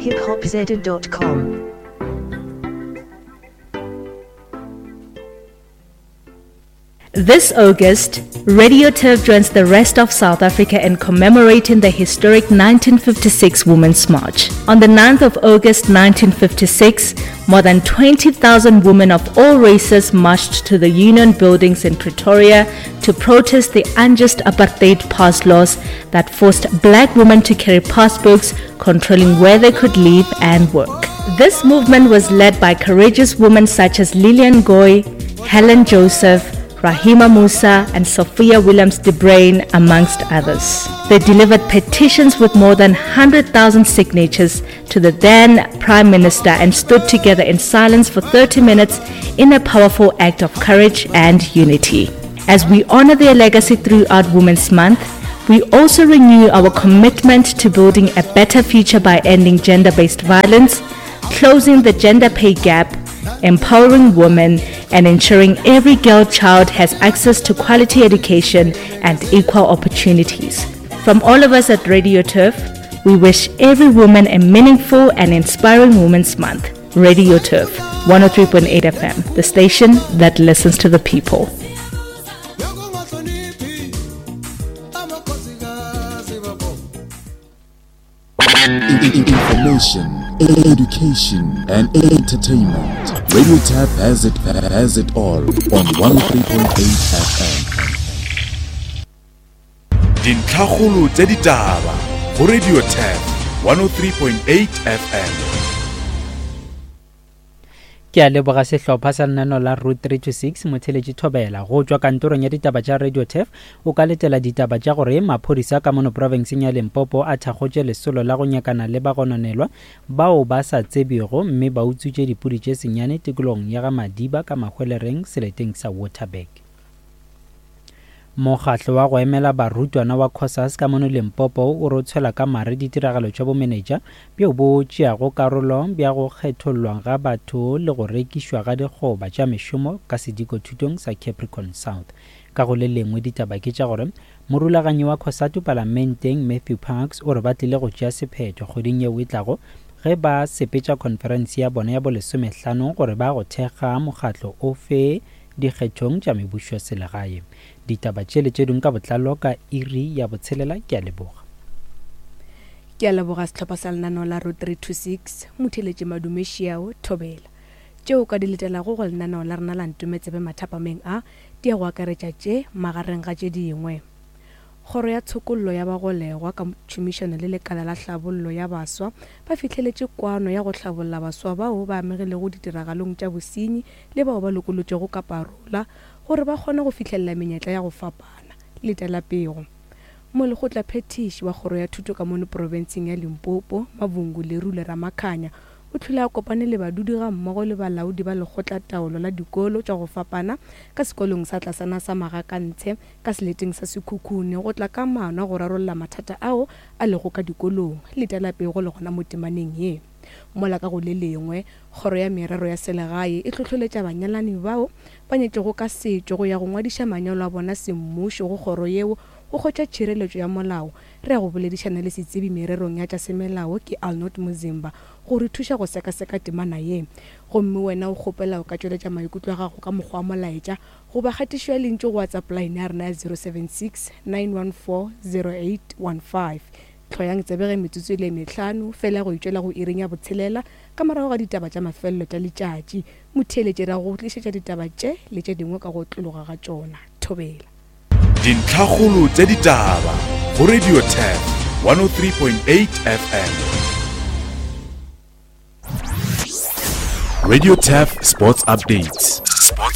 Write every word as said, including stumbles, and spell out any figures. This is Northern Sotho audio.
hip hop z dot com. This August, Radio Turf joins the rest of South Africa in commemorating the historic nineteen fifty-six Women's March. On the ninth of August nineteen fifty-six, more than twenty thousand women of all races marched to the Union Buildings in Pretoria to protest the unjust apartheid pass laws that forced black women to carry passbooks controlling where they could live and work. This movement was led by courageous women such as Lillian Goy, Helen Joseph, Rahima Moosa and Sophia Williams de Bruyn, amongst others. They delivered petitions with more than hundred thousand signatures to the then Prime Minister and stood together in silence for thirty minutes in a powerful act of courage and unity. As we honor their legacy throughout Women's Month, we also renew our commitment to building a better future by ending gender-based violence, closing the gender pay gap, empowering women, and ensuring every girl child has access to quality education and equal opportunities. From all of us at Radio Turf, we wish every woman a meaningful and inspiring Women's Month. Radio Turf, one oh three point eight F M, the station that listens to the people. Information, education, and entertainment. Radio Turf has it, has it all on one oh three point eight F M. Dintlhakgolo tsa ditaba go Radio Turf one oh three point eight F M. Ke a leboga sehlopha sa lenaneo la Route three two six motheletši Thobela go tšwa kantorong ya ditaba tša Radio Turf. O ka letela ditaba tša gore maphodisa ka mono profenseng ya Limpopo a thakgotše lesolo la go nyakana le bagononelwa bao ba sa tsebego mme ba utswitše dipudi tše senyane tikologong ya ga Madiba ka Mahwelereng seleteng sa Waterberg. Mokgatlo wa go emela barutwana wa COSAS ka mono Limpopo o re o tshwela ka mare ditiragalo tša bomenetša bjo bo tšeago karolo bja go kgethollwa ga batho le go rekišwa ga dikgoba tša mešomo ka sedikothutong sa Capricorn South. Ka go le lengwe ditaba ke tša gore morulaganyi wa COSATU palamenteng Matthew Parks o re ba tlile go tšea sephetho kgweding yeo e tlago ge ba sepetša conference ya bona ya bolesomehlano gore ba go thekga mokgatlo ofe dikgethong tša mebušo selegae. Ditaba tše le tše dingwe ka botlalo ka iri ya botshelela. Ke a leboga. Ke a leboga sehlopha sa lenaneo la Route three two six motheletše Madume Šiao Thobela. Tšeo ka di letelago go lenaneo la rena la Ntometsebe mathapameng a di ya go akaretša tše magareng ga tše dingwe. Kgoro ya tshokollo ya bagolegwa ka tšhomišano le lekala la hlabollo ya baswa ba fihleletše kwano ya go hlabolla baswa bao ba amegilego ditiragalong tša bosenyi le bao ba lokolotšwego ka parola gore ba kgone go fihlelela menyetla ya go fapana. Letela pego. Molekgotlaphethiši wa kgoro ya thuto ka mono profenseng ya Limpopo, Mavhungu Lerule Ramakhanya, o tlhole a kopane le badudi ga mmogo le balaodi ba lekgotlataolo la dikolo tša go fapana ka sekolong sa tlasana sa Magakantshe ka seleteng sa Sekhukhune go tla ka maano a go rarolla mathata ao a lego ka dikolong. Letela pego le gona mo temaneng ye. Mola ka go le lengwe, kgoro ya merero ya selegae e hlohloletša banyalani bao ba nyetšego ka setšo go ya go ngwadiša manyalo a bona semmušo go kgoro yeo go hwetša tšhireletšo ya molao. Re ya go boledišana le setsebi mererong ya tša semelao ke Arnold Muzimba go re thuša go sekaseka temana ye. Gomme wena o kgopela o ka tšweletša maikutlo a gago ka mokgwa wa molaetša goba kgatišo ya lentšu go WhatsApp line ya rena ya zero seven six nine one four zero eight one five. Hloyang tsebe ge metsotso e le mehlano fela go itšwela go iring ya botshelela ka morago ga ditaba tša mafelelo tša letšatši. Motheeletši ra go tlišetša ditaba tše le tše dingwe ka go tlologa ga tšona. Thobela. Dintlhakgolo tša ditaba go Radio Turf one oh three point eight F M. Radio Turf Sports Updates. Sports